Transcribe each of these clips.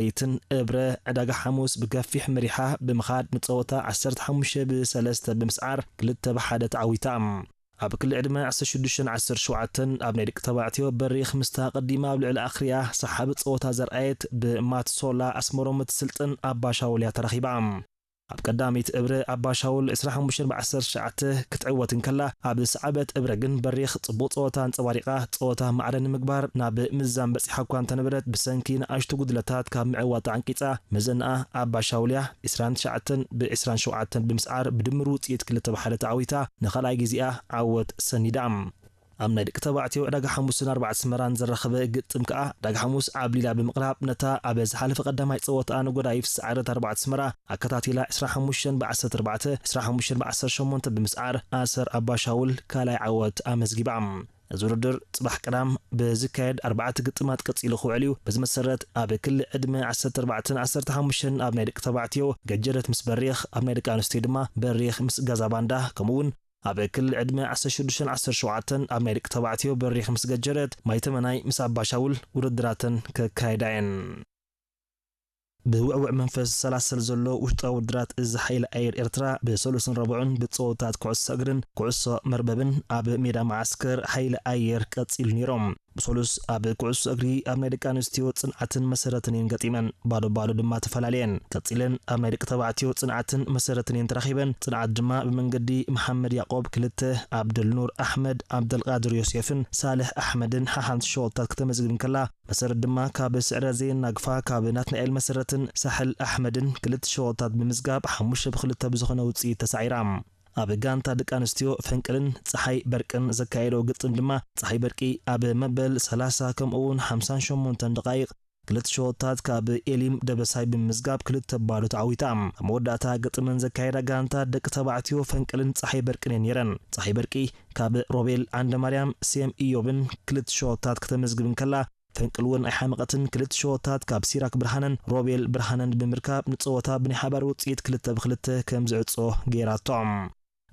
ለይትን እብረ ዕዳጋ ሓሙስ ብገፊሕ መሪሓ ብምኻድ ንጸወታ ዓሰርተ ሓሙሽተ ብ3 ብምስዓር ክልተ ብ ሓደ ተዓዊታ። ኣብ ክሊ ዕድመ ዓሰርተ ሽዱሽተን ዓሰርተ ሸውዓተን ኣብ ናይ ደቂ ተባዕትዮ በሪኽ ምስታ ቀዲማ ኣብ ልዕሊ ኣኽርያ ሰሓቢ ጸወታ ዘርኣየት ብማትሶላ ኣስመሮም እትስልጥን ኣባሻውል እያ ተረኺባ። ኣብ ቀዳሚት እብረ ኣባሻውል ዕስራ ሓሙሽተ ብ ዓሰርተ ትሽዓተ ክትዕወት እንከላ፣ ኣብ ሰዓበት እብረ ግን በሪኽ ጽቡቕ ጸወታ ኣንጸባሪቓ ጸወታ ማዕረ ንምግባር ናብ ምዛን በጺሓ እኳ እንተነበረት ብሰንኪ ንኣሽቱ ጉድለታት ካብ ምዕዋት ተዓንቂጻ መዘንኣ ኣባሻውል እያ ዕስራን ትሽዓተን ብ ዕስራን ሸውዓተን ብምስዓር ብድምር ውጽኢት ክልተ ብ ሓደ ተዓዊታ ንኻልኣይ ግዜኣ ዓወት ሰኒዳ። ኣብ ናይ ደቂ ተባዕትዮ ዕዳጋ ሓሙስን ኣርባዕተ ኣስመራን ዘራኸበ ግጥም ከኣ ዕዳጋ ሓሙስ ዓብሊላ ብምቕራብ ነታ ኣብ ዝሓለፈ ቀዳማይ ጸወታኣ ንጎዳይፍ ዝሰዓረት ኣርባዕተ ኣስመራ ኣከታቲላ ዕስራ ሓሙሽተ ብ ዓሰርተ ኣርባዕተ፣ ዕስራ ሓሙሽተ ብ ዓሰርተ ሸሞንተ ብምስዓር ኣሰር ኣባሻውል ካልኣይ ዓወት ኣመዝጊባ። እዚ ውድድር ጽባሕ ቀዳም ብዝካየድ ኣርባዕተ ግጥማት ቀጺሉ ክውዕል እዩ። በዚ መሰረት ኣብ ክሊ ዕድመ ዓሰርተ ኣርባዕተን ዓሰርተ ሓሙሽተን ኣብ ናይ ደቂ ተባዕትዮ ገጀረት ምስ በሪኽ፣ ኣብ ናይ ደቂ ኣንስትዮ ድማ በሪኽ ምስ ገዛ ባንዳ ከምኡ እውን ኣብ ክሊ ዕድመ ዓሰርተ ሽዱሽተን ዓሰርተ ሸውዓተን ኣብ ናይ ደቂ ተባዕትዮ በሪኽ ምስ ገጀረት ማይተመናይ ምስ ኣባሻውል ውድድራተን ከካይዳ እየን። ብውዕውዕ መንፈስ ዝሰላሰል ዘሎ ውሽጣዊ ውድድራት እዚ ሓይሊ ኣየር ኤርትራ ብሰሉስን ረቡዕን ብጸወታት ኩዕሶ እግርን ኩዕሶ መርበብን ኣብ ሜዳ መዓስከር ሓይሊ ኣየር ቀጺሉ ነይሮም። ብሰሉስ ኣብ ኩዕሶ እግሪ ኣብ ናይ ደቂ ኣንስትዮ ጽንዓትን መሰረትን እየን ገጢመን፣ ባዶ ባዶ ድማ ተፈላለየን። ቀጺለን ኣብ ናይ ደቂ ተባዕትዮ ጽንዓትን መሰረትን እየን ተራኺበን። ጽንዓት ድማ ብመንገዲ መሓመድ ያዕቆብ ክልተ፣ ኣብደልኑር ኣሕመድ፣ ኣብደልቃድር ዮሴፍን ሳልሕ ኣሕመድን ሓሓንቲ ሸወታት ከተመዝግብ እንከላ፣ መሰረት ድማ ካብ ስዕረ ዘየናግፋ ካብ ናትናኤል መሰረትን ሳሕል ኣሕመድን ክልተ ሸወታት ብምዝጋብ ሓሙሽተ ብክልተ ብዝኾነ ውጽኢት ተሳዒራ። ኣብ ጋንታ ደቂ ኣንስትዮ ፈንቅልን ጸሓይ በርቅን ዘካየደው ግጥም ድማ ጸሓይ በርቂ ኣብ መበል ሰላሳ ከምኡ እውን ሓምሳን ሸሞንተን ደቃይቕ ክልተ ሸወታት ካብ ኤሊም ደበሳይ ብምምዝጋብ ክልተ ባዶ ተዓዊታ። ኣብ መወዳእታ ግጥመን ዘካየዳ ጋንታ ደቂ ተባዕትዮ ፈንቅልን ጸሓይ በርቅን እየን ነይረን። ጸሓይ በርቂ ካብ ሮቤል ዓንደማርያም፣ ሴም ኢዮብን ክልተ ሸወታት ከተመዝግብ እንከላ፣ ፈንቅል እውን ኣይሓመቐትን። ክልተ ሸወታት ካብ ሲራክ ብርሃነን ሮቤል ብርሃነን ብምርካብ ንጸወታ ብናይ ሓባር ውጽኢት ክልተ ብክልተ ከም ዝዕጾ ገይራቶ።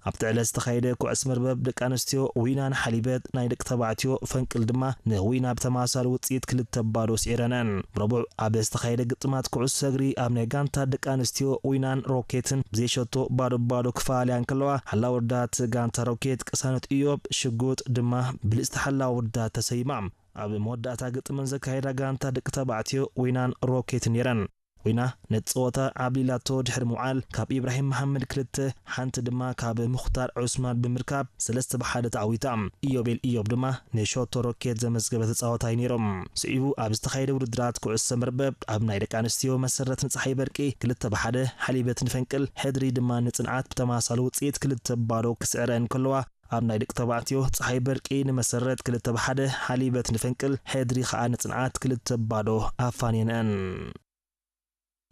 ኣብቲ ዕለት ዝተኻየደ ኩዕስ መርበብ ደቂ ኣንስትዮ ዊና ንሓሊበት፣ ናይ ደቂ ተባዕትዮ ፈንቅል ድማ ንዊና ብተመሳሳሊ ውጽኢት ክልተ ባዶ ስዒረነን። ረቡዕ ኣብ ዝተኻየደ ግጥማት ኩዕሶ እግሪ ኣብ ናይ ጋንታ ደቂ ኣንስትዮ ዊናን ሮኬትን ብዘይሸቶ ባዶ ባዶ ክፈላለያ እንከለዋ፣ ሓላዊ ወዳት ጋንታ ሮኬት ቅሳነት ኢዮብ ሽጉጥ ድማ ብልጽቲ ሓላዊ ወዳት ተሰይማ። ኣብ መወዳእታ ግጥመን ዘካየዳ ጋንታ ደቂ ተባዕትዮ ዊናን ሮኬትን ነይረን። ዊና ነቲ ጸወታ ዓብሊላቶ ድሕሪ ምውዓል፣ ካብ ኢብራሂም መሓመድ ክልተ፣ ሓንቲ ድማ ካብ ሙኽታር ዑስማን ብምርካብ ሰለስተ ብሓደ ተዓዊታ። ኢዮቤል ኢዮብ ድማ ንሾቶ ሮኬት ዘመዝገበ ተጻዋታይ ነይሮም። ስዒቡ ኣብ ዝተኻየደ ውድድራት ኩዕሶ መርበብ ኣብ ናይ ደቂ ኣንስትዮ መሰረት ንጸሓይ በርቂ ክልተ ብሓደ፣ ሓሊበት ንፈንቅል ሕድሪ ድማ ንጽንዓት ብተመሳሳሊ ውጽኢት ክልተ ባዶ ክስዕረን ከለዋ፣ ኣብ ናይ ደቂ ተባዕትዮ ጸሓይ በርቂ ንመሰረት ክልተ ብሓደ፣ ሓሊበት ንፈንቅል ሕድሪ ከኣ ንጽንዓት ክልተ ባዶ ኣፋንየንአን።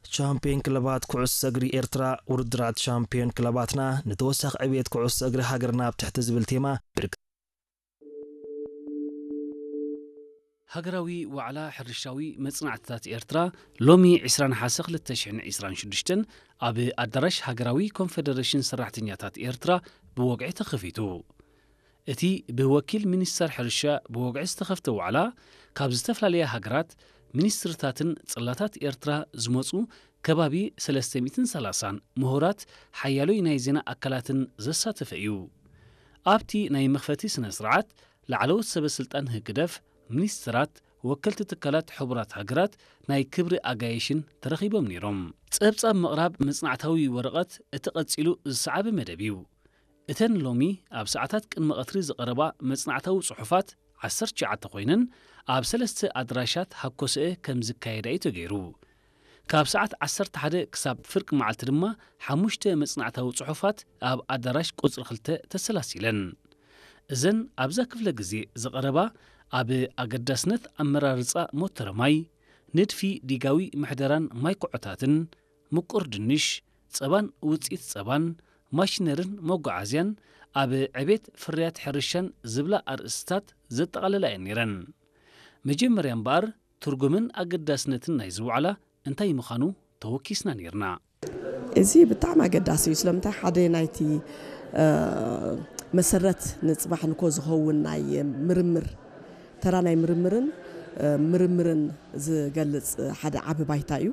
ቻምፒዮን ክለባት ኩዕሶ እግሪ ኤርትራ። ውድድራት ቻምፒዮን ክለባትና ንተወሳኺ ዕብየት ኩዕሶ እግሪ ሃገርና ኣብ ትሕቲ ዝብል ቴማ ብርክ- ሃገራዊ ዋዕላ ሕርሻዊ መጽናዕትታት ኤርትራ ሎሚ ዕስራ ነሓሰ ክልተ ሽሕን ዕስራን ሽዱሽተን ኣብ ኣዳራሽ ሃገራዊ ኮንፈደረሽን ሰራሕተኛታት ኤርትራ ብወግዒ ተኸፊቱ። እቲ ብወኪል ሚኒስተር ሕርሻ ብወግዒ ዝተኸፍተ ዋዕላ፣ ካብ ዝተፈላለያ ሃገራት፣ ሚኒስትርታትን ጽላታት ኤርትራ ዝመጹ ከባቢ ሰለስተ ሚእትን ሰላሳን ምሁራት ሓያሎይ ናይ ዜና ኣካላትን ዘሳተፈ እዩ። ኣብቲ ናይ መኽፈቲ ስነ ስርዓት፣ ላዕለዎት ሰበ ስልጣን ህግደፍ፣ ሚኒስትራት፣ ወከልቲ ትካላት ሕቡራት ሃገራት፣ ናይ ክብሪ ኣጋይሽን ተረኺቦም ነይሮም። ጸብጻብ ምቕራብ መጽናዕታዊ ወረቐት እቲ ቀጺሉ ዝሰዓበ መደብ እዩ። እተን ሎሚ ኣብ ሰዓታት ቅድሚ ቀትሪ ዝቐረባ መጽናዕታዊ ጽሑፋት ዓሰርተ ትሽዓተ ኮይነን ኣብ ሰለስተ ኣድራሻት ሃኮሰኤ ከም ዝካየዳ እዩ ተገይሩ። ካብ ሰዓት ዓሰርተ ሓደ ክሳብ ፍርቂ መዓልቲ ድማ ሓሙሽተ መጽናዕታዊ ጽሑፋት ኣብ ኣዳራሽ ቁጽሪ ክልተ ተሰላሲለን። እዘን ኣብዛ ክፍለ ግዜ ዝቐረባ ኣብ ኣገዳስነት ኣመራርጻ ሞተረ ማይ፣ ንድፊ ዲጋዊ ምሕደራን ማይ ኩዖታትን፣ ምቁር ድንሽ፣ ጸባን ውጽኢት ጸባን፣ ማሽነርን መጓዓዝያን፣ ኣብ ዕቤት ፍርያት ሕርሻን ዝብላ ኣርእስትታት ዘጠቓለላ እየን ነይረን። መጀመርያ እምበኣር ትርጉምን ኣገዳስነትን ናይዚ ዋዕላ እንታይ ምዃኑ ተወኪስና ነይርና። እዚ ብጣዕሚ ኣገዳሲ እዩ። ስለምንታይ ሓደ ናይቲ መሰረት ንፅባሕ ንኮ ዝኸውን ናይ ምርምር ተራ ናይ ምርምርን ምርምርን ዝገልፅ ሓደ ዓቢ ባይታ እዩ።